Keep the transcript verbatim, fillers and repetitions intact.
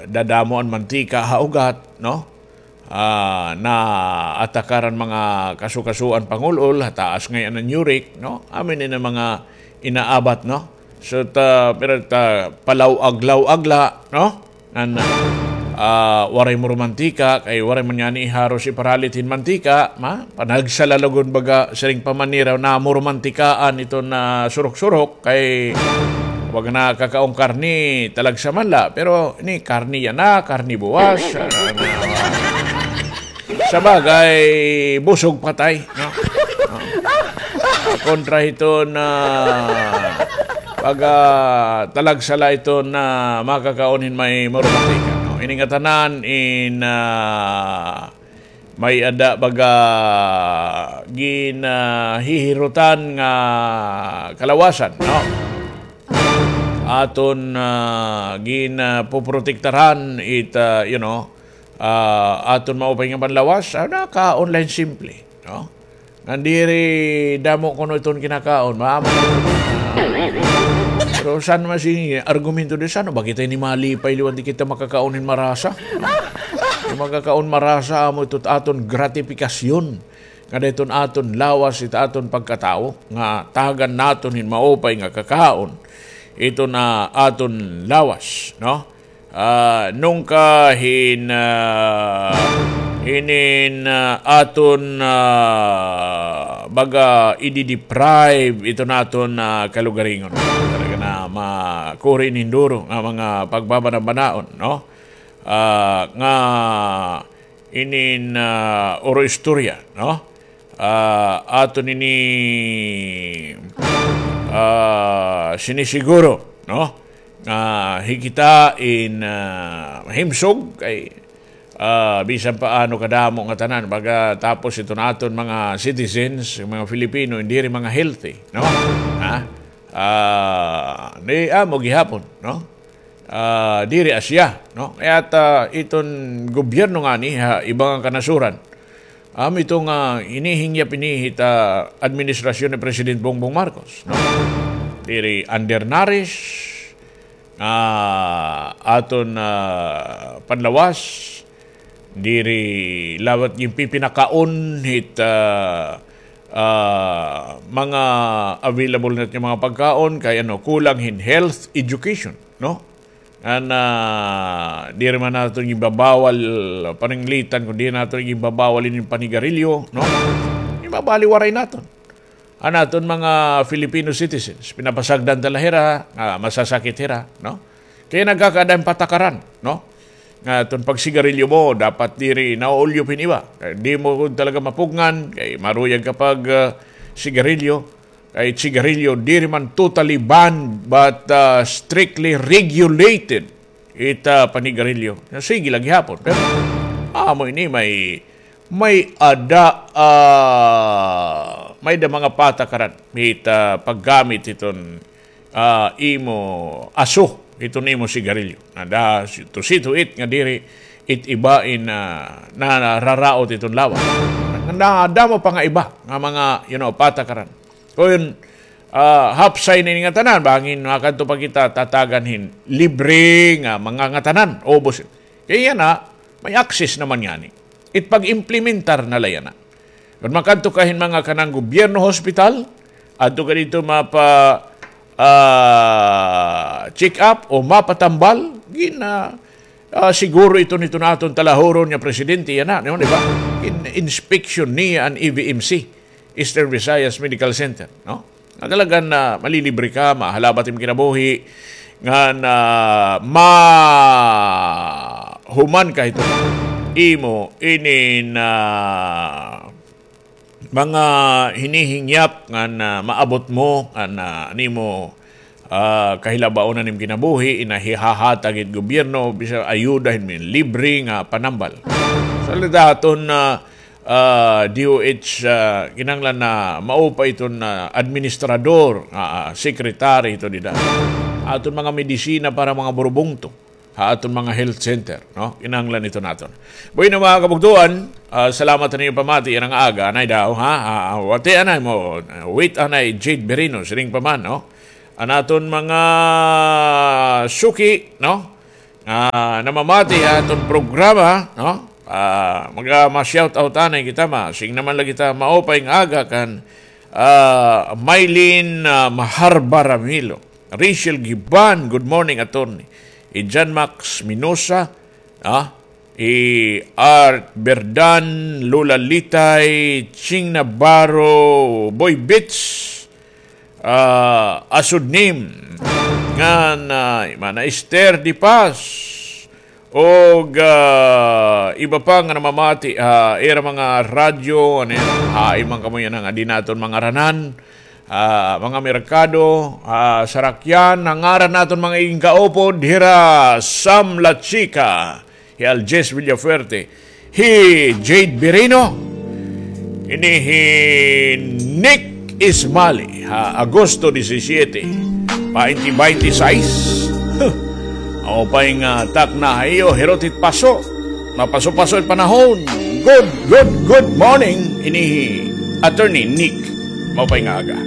dadamo an mantika ha ugat, no? Ah, naatakaran mga kasukasuan pangul-ol, ha taas ngay-an an uric, no? Amo ini nga mga inaabat, no? So, ta, pero ta, palaw-aglaw-agla, no? Ngan, ah, waray maromantika, kay waray man ngani haros iparalit hin mantika, ma? Panagsala la gud baga siring pa man nira nga maromantikaan iton surok-surok, kay baga nakakaon karne, talagsa man la, pero ini karne yana, karne buwas, ah, sabagay, busog patay, no? No? Kontra hiton pag, ah, talagsa la iton makakaon hin may maromantika, no? Ini ngatanan in, ah, may-ada baga gin, ah, hihirutan nga kalawasan, no? Aton, ah, gin, ah, poprotektaran it, ah, you know, ah, aton maupay nga panlawas, ah, nakaon la hin simple, no? Ngan diri damo kuno iton kinakaon, maamo na iton. Pero san man sini argumento di, san-o ba kita ini malipay liwan di kita makakaon hin marasa? Makakaon marasa, amo ito aton gratifikasyon nga dayton aton lawas, it aton pagkatawo, nga tagan naton hin maupay nga kakaon iton aton lawas, no? Ah, nungka hin, ah, hinin, ah, aton, ah, baga idi-deprive iton aton, ah, kalugaringon. Talaga nga makuri hin duro nga mga pagbabanabanaon, no? Ah, nga inin, ah, oro istorya, no? Ah, aton ini, ah, sinisiguro, no? Nga hikita in, ah, mahimsog kay, ah, bisan pa ano kadamo ngatanan, pagkatapos iton aton mga citizens, mga Filipino, diri mga healthy, no? Ha? Ah, ni amo gihapon, no? Ah, diri asya, no? Kay ta, iton gobyerno ngani ha iba nga kanasuran, amo ito nga hinihingyap ini hit administrasyon ni President Bongbong Marcos, no? Diri undernourished, ah, aton, ah, panlawas, diri liwat ginpipinakaon hit, ah, ah, mga available naton nga mga pagkaon, kay ano, kulang hin health education, no? Ngan, ah, diri man naton ginbabawal paninglitan, kundi naton ginbabawal ini panigarilyo, no? Ginbabaliwaray naton an aton mga Filipino citizens. Pinapasagdan ta la hira, ah, masasakit hira, no? Kay nagkakaada hin patakaran, no? Nga iton pagsigarilyo mo, dapat diri nauulyop hin iba. Kay di mo gud talaga mapugngan, kay maruyag ka pag, ah, sigarilyo. Kay sigarilyo, diri man totally banned, but, ah, strictly regulated it, ah, panigarilyo. Sige la gihapon. Pero, amo ini may, may-ada, ah, may-ada mga patakaran hit, ah, paggamit hiton, ah, imo aso, hiton imo sigarilyo. Nada, to see to it nga diri it iba in, ah, na, nararaot hiton lawas. Nadamo pa nga iba nga mga, you know, patakaran. Kon, ah, hapsay na ini ngatanan, bangin makadto pa kita tatagan hin libre nga mga ngatanan, ubos. Kay yana, may access naman ngani. It pag-implementar na la yana. Kon makadto ka hin mga kanang gobyerno hospital, adto ka didto mapa, ah, check up o mapatambal, gin, ah, ah, siguro ito nito naton talahuron nga presidente yana, no, di ba? In inspection niya an E V M C. Eastern Visayas Medical Center, no? Nga talagan na malilibre ka, mahalabat im kinabuhi, nga na mahuman ka hito imo inin, ah, mga hinihingyap nga na maabot mo, nga na nimo ah, kahilabaon an im kinabuhi, inahihahatag it gobyerno, bisan ayuda hin libre nga panambal. Sa daton, ah, ah, D O H, ah, kinahanglan na maupay iton, ah, administrador, ah, secretary ito dida. Aton mga medisina para mga burubungto ha aton mga health center, no? Kinahanglan ito naton. Bueno, mga kabugtuan, ah, salamat ha niyo pamati yana nga aga, anay daw, ha? Ah, wati anay mo, wait anay Jade Berino, siring pa man, no? An aton mga suki, no? ah, namamati ha aton programa, no? Ah, maga ma-shout out anay kita, ma-, sing naman la kita, maupay nga aga kan, ah, Mylene, ah, Maharba Ramilo, Rachel Giban, good morning, attorney. I John Max Minosa, ah, i Art Berdan, Lola Litay, Ching Navarro, Boy Bits, ah, Asud Nim, ngan, ah, Mana Esther Di Paz, og, ah, iba pa nga namamati, ah, ira mga radyo, ano yan, ah, iman kamo yan nga di naton mangaranan, ah, mga merkado, ah, sarakyan, nangaran naton mga iging kaupod, hira Sam La Chica, hi Aljes Villafuerte, hi Jade Birino, ini hi Nick Ismali, ha Agosto disisiete, twenty twenty-six. Huh. Maupay nga takna ha iyo, hirot it paso. Mapaso-paso it panahon. Good, good, good morning. Ini hi Attorney Nick. Maupay nga aga.